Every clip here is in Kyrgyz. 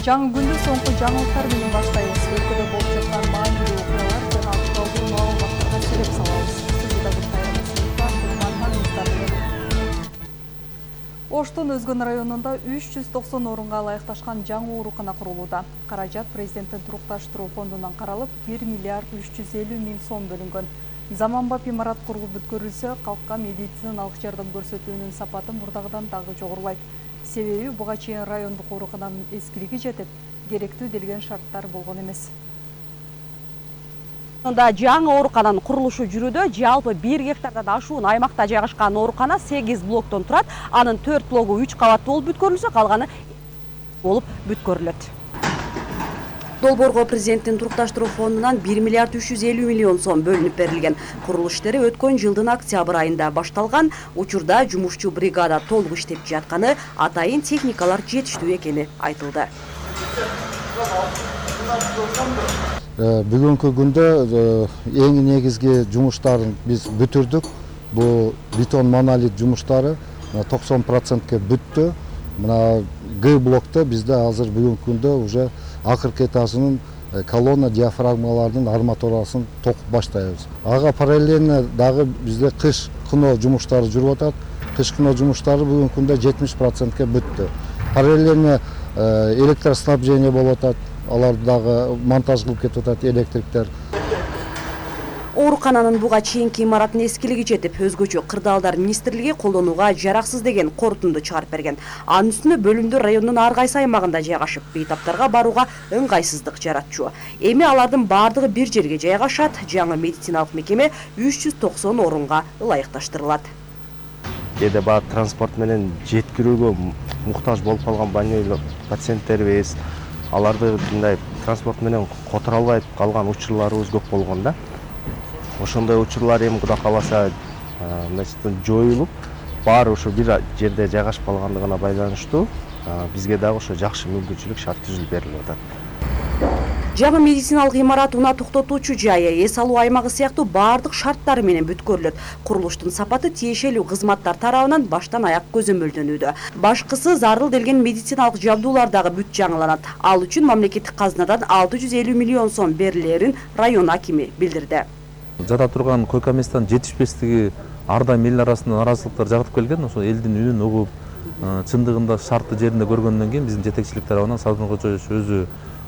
Жаңы күндө соңку жаңылыктар менен баштайбыз. Өлкөдө болуп жаткан маанилүү окуялар жана актуалдуу маалыматтарга сереп салабыз. Оштун Өзгөн районунда 390 орунга ылайыкташкан жаңы оорукана курулууда. Каражат президенттин турукташтыруу фондунан каралып, 1 миллиард 350 миң сом бөлүнгөн. Заманбап имарат курулуп бүткөрүлсө, калкка медициналык жардам көрсөтүүнүн сапаты мурдагыдан дагы жогорулайт. Себеби буга чейин райондук оорукананын эскилиги жетип, керектүү делген шарттар болгон эмес. Жаңы оорукананын курулушу жүрүүдө. Жалпы 1 гектардан ашуун аймакта жайгашкан оорукана 8 блоктон турат. Анын 4 блогу 3 кабаттуу болуп бүткөрүлсө, калганы болуп бүткөрүлөт. Долбоорго президенттин турукташтыруу фондунан 1 миллиард 350 миллион сом бөлүнүп берилген. Курулуш иштери өткөн жылдын октябрь айында башталган. Учурда жумушчу бригада толук иштеп жатканы, атайын техникалар жетиштүү экени айтылды. Бүгүнкү күндө эң негизги жумуштарын биз бүтүрдүк. Бул бетон монолит жумуштары 90%ке бүттү. Мына Г блокто бизде азыр бүгүнкү күндө уже акыркы этажынын колонна диафрагмалардын арматурасын токуп баштайбыз. Ага параллельно дагы бизде кыш кыно жумуштары жүрүп атат. Кыш кыно жумуштары бүгүнкү күндө 70%ке бүттү. Параллельно электроснабжение болуп атат. Аларды дагы монтаж кылып кетип атат электриктер. Оорукананын буга чейинки имараттын эскилиги жетип, өзгөчө кырдаалдар министрлиги колдонууга жараксыз деген корутунду чыгарып берген. Анын үстүнө бөлүмдүү райондун ар кайсы аймагында жайгашып, бейтаптарга барууга ыңгайсыздык жаратчу. Эми алардын бардыгы бир жерге жайгашат. Жаңы медициналык мекеме 390 орунга ылайыкташтырылат. Кээде баа транспорт менен жеткирүүгө муктаж болуп калган больной пациенттерибиз, аларды мындай транспорт менен которо албай калган учурларыбыз көп болгон да. Ошондой учурлар эми Кудай кааласа жоюлуп, баары ошо бир жерде жайгашып калгандыгына байланыштуу бизге дагы ошо жакшы мүмкүнчүлүк шарт түзүлүп берилип атат. Жаңы медициналык имарат унаа токтотуучу жайы, эс алуу аймагы сыяктуу бардык шарттары менен бүткөрүлөт. Курулуштун сапаты тиешелүү кызматтар тарабынан баштан аяк көзөмөлдөнүүдө. Башкысы зарыл делген медициналык жабдуулар дагы бүт жаңыланат. Ал үчүн мамлекеттик казынадан 650 миллион сом берилерин район акими билдирди. Жада турган койка месттин жетишпестиги ар дайым эл арасында наразылыктар жаратып келген. Ошо элдин үнүн угуп, чындыгында шартты жеринде көргөндөн кийин биздин жетекчилик тарабынан Салтын Кочоевич өзү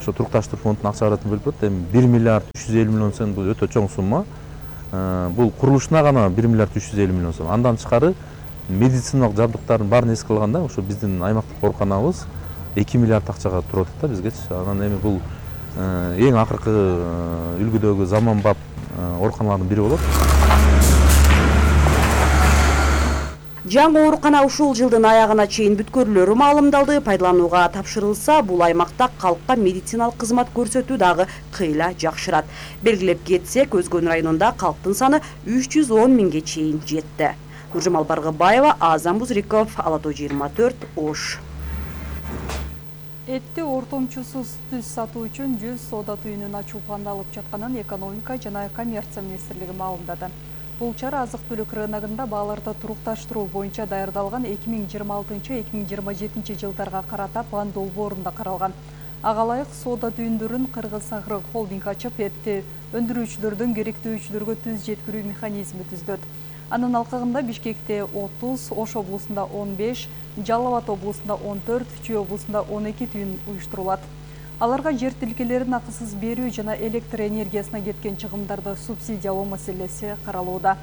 ошо турукташтыруу фондунун акча каражатын бөлүп берди. Эми 1 миллиард 350 миллион сом бул өтө чоң сумма. Бул курулушуна гана 1 миллиард 350 миллион сом. Андан тышкары медициналык жабдыктардын баарын эске алганда ошо биздин аймактык ооруканабыз 2 миллиард акчага туруп атат да бизгечи. Анан эми бул эң акыркы үлгүдөгү заманбап ооруканалардын бири болот. Жаңы оорукана ушул жылдын аягына чейин бүткөрүлөрү маалымдалды. Пайдаланууга тапшырылса, бул аймакта калкка медициналык кызмат көрсөтүү дагы кыйла жакшырат. Белгилеп кетсек, Өзгөн районунда калктын саны 310 миңге чейин жетти. Нуржамал Баргыбаева, Азам Бузриков, Ала Тоо 24, Ош. Этти ортомчусуз түз сатуу үчүн 100 соода түйүнүн ачуу пландалып жатканын экономика жана коммерция министрлиги маалымдады. Бул чара азык-түлүк рыногунда бааларды турукташтыруу боюнча даярдалган 2026-2027 жылдарга карата план долбоорунда каралган. Ага ылайык соода түйүндөрүн Кыргыз Агро холдинг ачып, этти өндүрүүчүлөрдөн керектүүчүлөргө түз жеткирүү механизми түздөт. Анын алкагында Бишкекте 30, Ош облусунда 15, Жалал Абад облусунда 14, Чүй облусунда 12 түйүн уюштурулат. Аларга жер тилкелерин акысыз берүү жана электр энергиясына кеткен чыгымдарды субсидиялоо маселеси каралууда.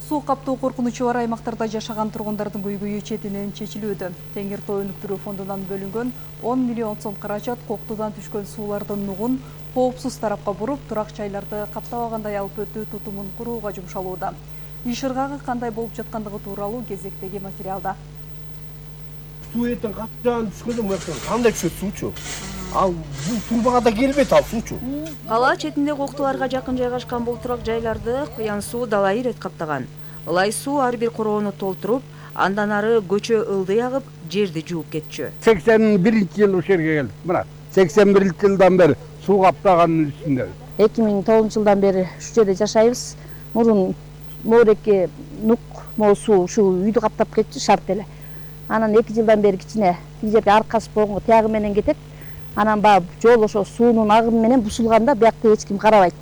Суу каптоо коркунучу бар аймактарда жашаган тургундардын көйгөйү четинен чечилүүдө. Теңир Тоо өнүктүрүү фондунан бөлүнгөн 10 миллион сом каражат коктудан түшкөн суулардын нугун коопсуз тарапка буруп, турак жайларды каптабагандай алып өтүү тутумун курууга жумшалууда. Иш ыргагы кандай болуп жаткандыгы тууралуу кезектеги материалда. Суу эртең каптабаган түшкөндө мындан кандай түшөт суучу? Ал бул турбага да келбейт ал суучу. Кала четинде коктуларга жакын жайгашкан бул турак жайларды куян суу далайы ирет каптаган. Ылай суу ар бир короону толтуруп, андан ары көчө ылдый агып, жерди жууп кетчү. 81-жылы ушул жерге келдик. Мына 81-жылдан бери суу каптаганын үстүндө. 2009-жылдан бери ушу жерде жашайбыз. Мурун моореке нук, суу ушул үйдү каптап кетчү, шарт эле. Анан 2 жылдан бери кичине тиги жерге аркашып койгонго тиягы менен кетет. Анан баягы жол ошо суунун агымы менен бушулганда биякта эч ким карабайт.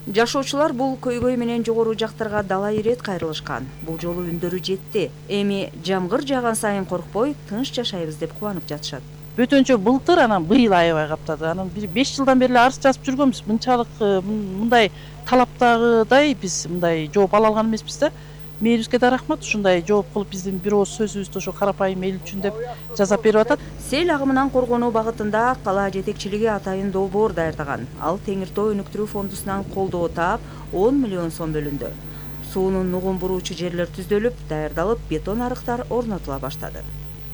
Жашоочулар бул көйгөй менен жогору жактарга далай ирет кайрылышкан. Бул жолу үндөрү жетти. Эми жамгыр жааган сайын коркпой, тынч жашайбыз деп кубанып жатышат. Бөтөнчө былтыр, анан быйыл аябай каптады. Анан 5 жылдан бери арыз жазып жүргөнбүз. Мынчалык мындай талаптагыдай биз мындай жооп ала алган эмеспиз да. Мээлибизге да рахмат, ушундай жооп кылып биздин бир ооз сөзүбүздү ошо карапайым эл үчүн деп жазап берип атат. Сел агымынан коргонуу багытында кала жетекчилиги атайын долбоор даярдаган. Ал Теңир Тоо өнүктүрүү фондусунан колдоо таап 10 миллион сом бөлүндү. Суунун нугун буруучу жерлер түздөлүп, даярдалып, бетон арыктар орнотула баштады.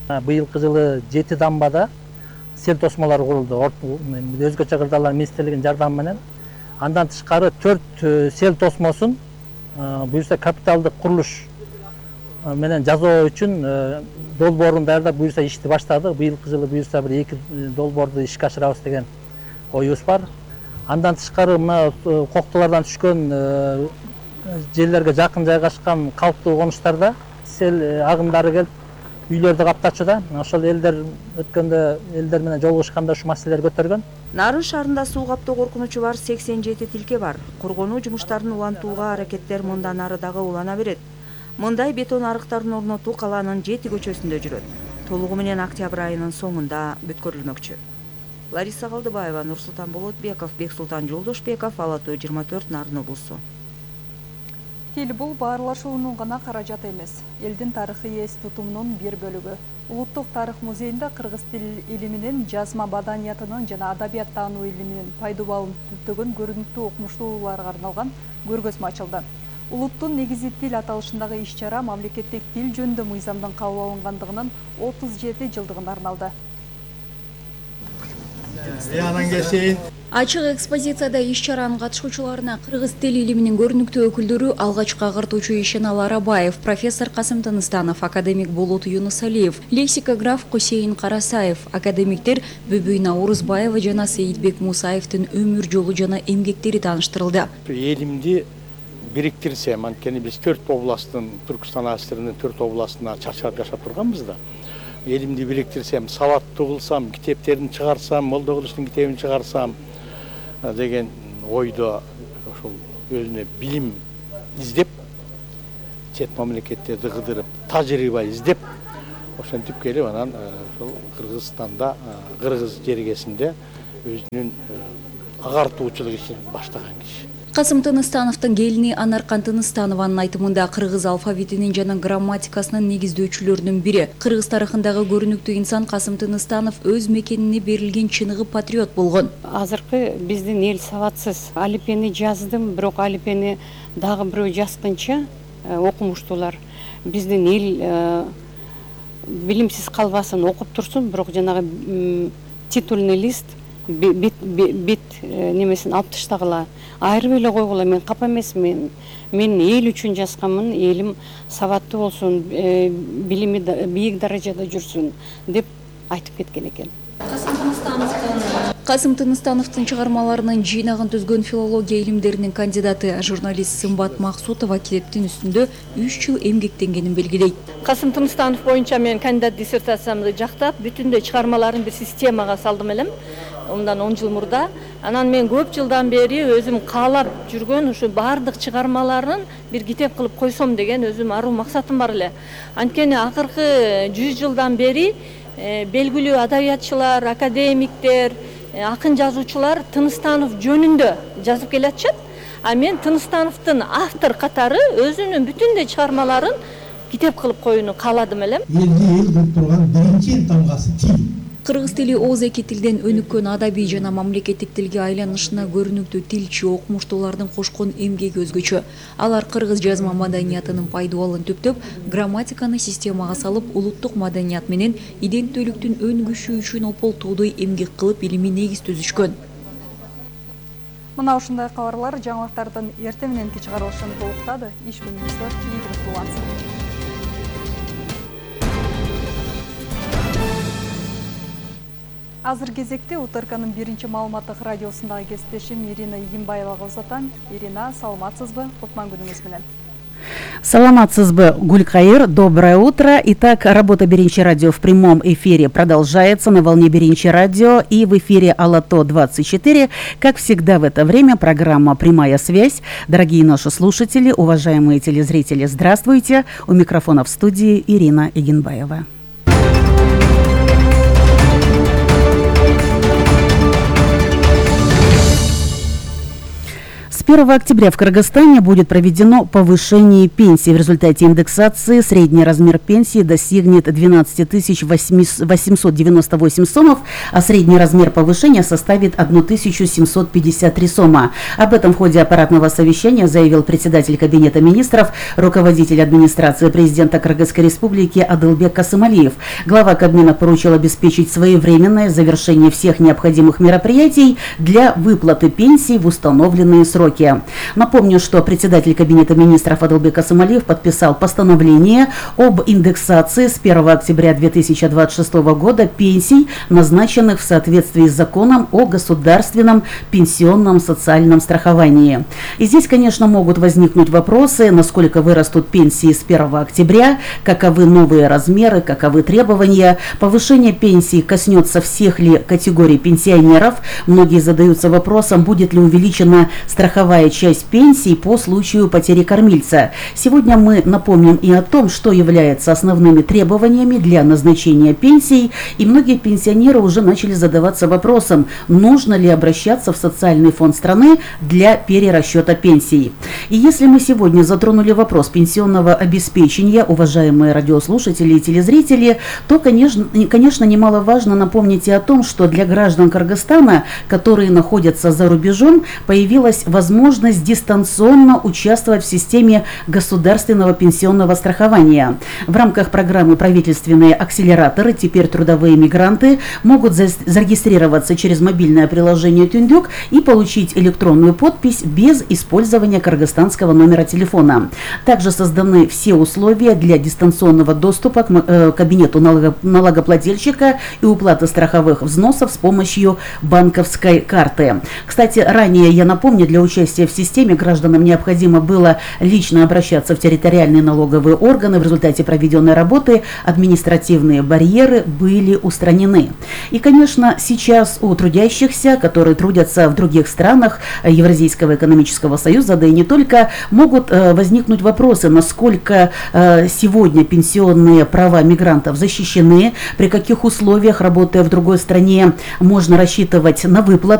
Быйылкы жылы 7 дамбада сел тосмолору курулду. Өзгөчө кырдаалар министрлигинин жардамы менен. Андан тышкары 4 сел тосмосун буюрса капиталдык курулуш менен жазуу үчүн долбоорун даярдап буюрса ишти баштадык. Быйылкы жылы буюрса бир 2 долбоорду ишке ашырабыз деген оюбуз бар. Андан тышкары мына коктолордон түшкөн жерлерге жакын жайгашкан калктуу конуштарда сел агымдары келип үйлөрдү каптачуда. Ошол элдер өткөндө элдер менен жолугушканда ушу маселелерди көтөргөн. Нарын шаарында суу каптоо коркунучу бар 87 тилке бар. Коргонуу жумуштарын улантууга аракеттер мындан ары дагы улана берет. Мындай бетон арыктарын орнотуу каланын 7 көчөсүндө жүрөт. Толугу менен октябрь айынын соңунда бүткөрүлмөкчү. Лариса Калдыбаева, Нурсултан Болотбеков, Бексултан Жолдошбеков, Ала Тоо 24, Нарын облусу. Тил бул баарлашуунун гана каражаты эмес, элдин тарыхый эс тутумунун бир бөлүгү. Улуттук тарых музейинде кыргыз тил илиминин, жазма маданиятынын жана адабият таануу илиминин пайдубалын түптөгөн көрүнүктүү окумуштууларга арналган көргөзмө ачылды. Улуттун негизи тил аталышындагы иш-чара мамлекеттик тил жөнүндө мыйзамдын кабыл алынгандыгынын 37 жылдыгына арналды. Ачык экспозицияда иш-чаранын катышуучуларына кыргыз тил илиминин көрүнүктүү өкүлдөрү алгачкы агыртуучу Ишенал Арабаев, профессор Касым Тыныстанов, академик Болот Юнусалиев, лексикограф Кусейин Карасаев, академиктер Бүбүй Наурузбаева жана Сейитбек Мусаевдин өмүр жолу жана эмгектери тааныштырылды. Элимди бириктирсем, анткени биз 4 областтын, Түркүстан АССРнын 4 областына чачырып жашап турганбыз да. Элимди бириктирсем, сабаттуу кылсам, китептерин чыгарсам, Молдо Кылычтын китебин чыгарсам деген ойдо ошол өзүнө билим издеп, чет мамлекеттерди кыдырып, тажрыйба издеп, ошентип келип анан ошол Кыргызстанда, кыргыз жергесинде өзүнүн агартуучулук ишин баштаган киши. Касым Тыныстановдун келини Анаркан Тыныстанованын айтымында кыргыз алфавитинин жана грамматикасынын негиздөөчүлөрүнүн бири. Кыргыз тарыхындагы көрүнүктүү инсан Касым Тыныстанов өз мекенине берилген чыныгы патриот болгон. Азыркы биздин эл сабатсыз. Алипени жаздым, бирок алипени дагы бирөө жазгынча окумуштуулар. Биздин эл билимсиз калбасын, окуп турсун, бирок жанагы титульный лист бет немесин алып таштагыла, айырып эле койгула. Мен капа эмесмин. Мен эл үчүн жазганмын, элим сабаттуу болсун, билими бийик даражада жүрсүн деп айтып кеткен экен. Касым Тыныстановдун чыгармаларынын жыйнагын түзгөн филология илимдеринин кандидаты журналист Сымбат Максутова китептин үстүндө 3 жыл эмгектенгенин белгилейт. Касым Тыныстанов боюнча мен кандидат диссертациямды жактап, бүтүндөй чыгармаларын бир системага салдым элем. Ондан 10 жыл мурда. Анан мен көп жылдан бери өзүм каалап жүргөн ушу бардык чыгармаларын бир китеп кылып койсом деген өзүм аруу максатым бар эле. Анткени акыркы 100 жылдан бери белгилүү адабиятчылар, академиктер, акын жазуучулар Тыныстанов жөнүндө жазып келатышат. А мен Тыныстановдун автор катары өзүнүн бүтүндөй чыгармаларын китеп кылып коюуну кааладым элем. Элди эл кылып турган биринчи тамгасы тил. Кыргыз тили ооз эки тилден өнүккөн адабий жана мамлекеттик тилге айланышына көрүнүктүү тилчи, окумуштуулардын кошкон эмгеги өзгөчө. Алар кыргыз жазма маданиятынын пайдубалын түптөп, грамматиканы системага салып, улуттук маданият менен иденттүүлүктүн өнгүшү үчүн ополтуудой эмгек кылып, илимий негиз түзүшкөн. Мына ушундай кабарлар жаңылыктардын эртең мененки чыгарылышын толуктады. Иш күнүңүздөр ийгиликтүү улансын. Азыр кезекте УТРКнын биринчи маалыматтык радиосундагы кесиптешим Ирина Игимбаевага узатам. Ирина, саламатсызбы? Кутман күнүңүз менен. Саламатсызбы, Гулькаир, доброе утро. Итак, работа Биринчи радио в прямом эфире продолжается на волне Биринчи радио и в эфире Алато 24. Как всегда в это время программа «Прямая связь». Дорогие наши слушатели, уважаемые телезрители, здравствуйте. У микрофона в студии Ирина Игенбаева. С 1 октября в Кыргызстане будет проведено повышение пенсий. В результате индексации средний размер пенсии достигнет 12 898 сомов, а средний размер повышения составит 1753 сома. Об этом в ходе аппаратного совещания заявил председатель Кабинета министров, руководитель администрации президента Кыргызской республики Адылбек Касымалиев. Глава Кабмина поручил обеспечить своевременное завершение всех необходимых мероприятий для выплаты пенсий в установленные сроки. Напомню, что председатель Кабинета министров Адылбек Касымалиев подписал постановление об индексации с 1 октября 2026 года пенсий, назначенных в соответствии с законом о государственном пенсионном социальном страховании. И здесь, конечно, могут возникнуть вопросы, насколько вырастут пенсии с 1 октября, каковы новые размеры, каковы требования. Повышение пенсий коснется всех ли категорий пенсионеров. Многие задаются вопросом, будет ли увеличена страховая часть пенсий по случаю потери кормильца. Сегодня мы напомним и о том, что является основными требованиями для назначения пенсий, и многие пенсионеры уже начали задаваться вопросом, нужно ли обращаться в социальный фонд страны для перерасчета пенсий. И если мы сегодня затронули вопрос пенсионного обеспечения, уважаемые радиослушатели и телезрители, то, конечно, немаловажно напомнить и о том, что для граждан Кыргызстана, которые находятся за рубежом, появилась возможность дистанционно участвовать в системе государственного пенсионного страхования. В рамках программы «Правительственные акселераторы» теперь трудовые мигранты могут зарегистрироваться через мобильное приложение «Тюндюк» и получить электронную подпись без использования кыргызстанского номера телефона. Также созданы все условия для дистанционного доступа к кабинету налогоплательщика и уплаты страховых взносов с помощью банковской карты. Кстати, ранее, я напомню, для участия в системе гражданам необходимо было лично обращаться в территориальные налоговые органы. В результате проведенной работы административные барьеры были устранены. И, конечно, сейчас у трудящихся, которые трудятся в других странах Евразийского экономического союза, да и не только, могут возникнуть вопросы, насколько сегодня пенсионные права мигрантов защищены, при каких условиях, работая в другой стране, можно рассчитывать на выплаты